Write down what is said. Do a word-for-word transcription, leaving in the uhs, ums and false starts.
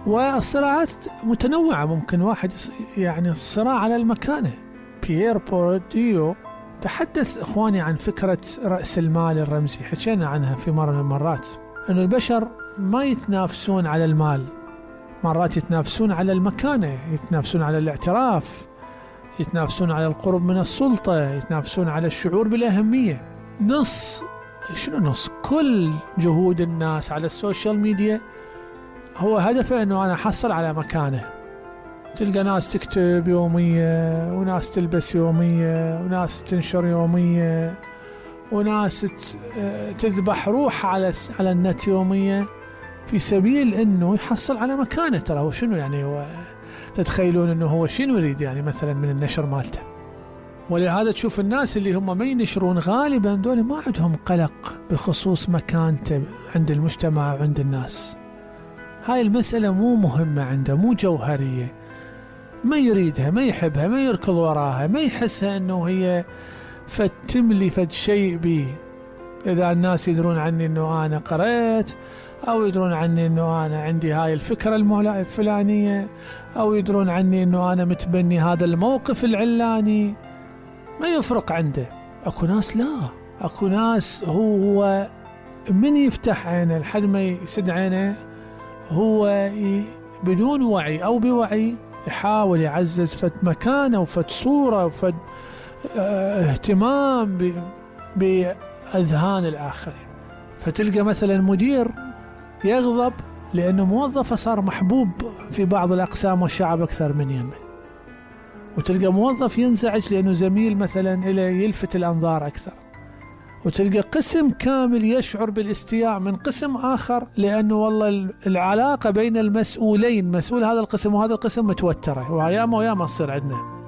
والصراعات متنوعة، ممكن واحد يعني الصراع على المكانة. بيير بورديو تحدث إخواني عن فكرة رأس المال الرمزي، حكينا عنها في مرة من المرات، أن البشر ما يتنافسون على المال، مرات يتنافسون على المكانة، يتنافسون على الاعتراف، يتنافسون على القرب من السلطة، يتنافسون على الشعور بالأهمية. نص شنو نص كل جهود الناس على السوشيال ميديا هو هدفه أنه أنا أحصل على مكانة. تلقى ناس تكتب يومية، وناس تلبس يومية، وناس تنشر يومية، وناس تذبح روح على على النت يومية في سبيل انه يحصل على مكانه. ترى هو شنو يعني، هو تتخيلون انه هو شنو يريد يعني مثلا من النشر مالته؟ ولهذا تشوف الناس اللي هم ما ينشرون غالبا دول ما عندهم قلق بخصوص مكانته عند المجتمع وعند الناس. هاي المسألة مو مهمة عنده، مو جوهرية، ما يريدها، ما يحبها، ما يركض وراها، ما يحسها انه هي فتملي فد شيء بي. اذا الناس يدرون عني انه انا قرأت، او يدرون عني انه انا عندي هاي الفكرة الفلانية، او يدرون عني انه انا متبني هذا الموقف العلاني، ما يفرق عنده. اكو ناس لا، اكو ناس هو من يفتح عينه لحد ما يسد عينه هو بدون وعي او بوعي يحاول يعزز فد مكانه وفد صورة وفد اه اهتمام بأذهان الآخرين. فتلقى مثلا مدير يغضب لأنه موظفه صار محبوب في بعض الأقسام والشعب أكثر من يمه، وتلقى موظف ينزعج لأنه زميل مثلا إلى يلفت الأنظار أكثر، وتلقى قسم كامل يشعر بالاستياء من قسم آخر لأنه والله العلاقة بين المسؤولين، مسؤول هذا القسم وهذا القسم متوترة، وياما وياما تصير عندنا.